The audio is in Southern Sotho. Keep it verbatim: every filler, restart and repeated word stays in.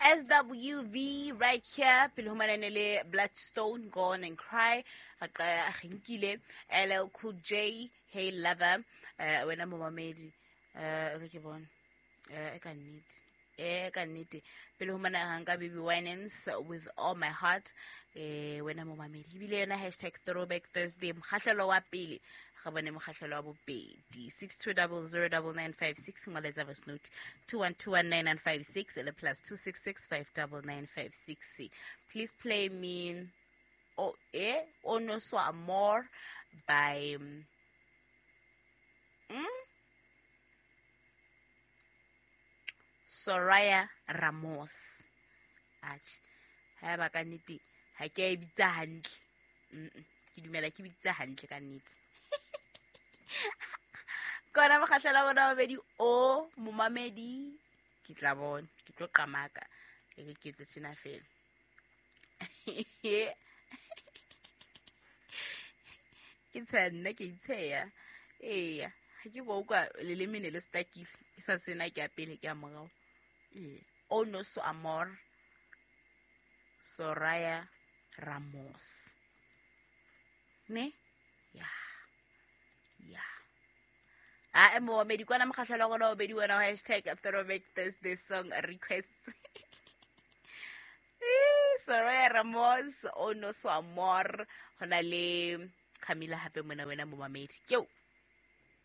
S W V right here pele ho manane le Bloodstone, Go On and Cry. Re nkile L L Cool J, Hey Lover. Eh, wena momamedi, eh re ke bone eh ka nnete, eh ka nnete pele ho mana hanka Baby Winans with All My Heart. Eh wena momamedi, ebile yona hashtag Throwback Thursday, mokgahlelo wa pele re bone mokgahlelo wa bobedi. Six two double zero double nine five six, ngoletsa voice note two one two one nine nine five six le plus two six six five double nine five six. Please play me o eh Ono So Amor by mm, Soraya Ramos. Atjhe, ha ba ka nnete ha ke a e bitsa hantle. Mm, ke dumela ke bitsa hantle ka nnete. Kona mokgahlelo wa bona babedi o momamedi, ke tla bona, ke tlo qamaka e ke ke etse tjena fela. Ke tsheya nna, ke itsheya. Eya, ha ke go utlwa leleme ne le stakile, ke sa sena ke a pele ke a morao. Ee, Ono So Amor, Soraya Ramos. Ne? Ya. Ya. Ah, momamedi, kwana mokgahlelo wa rona wa bobedi wena wa hashtag Throwback Thursday song requests. Eh, Soraya Ramos, Ono So Amor, hona le Camila hape mona wena momamedi. Keo.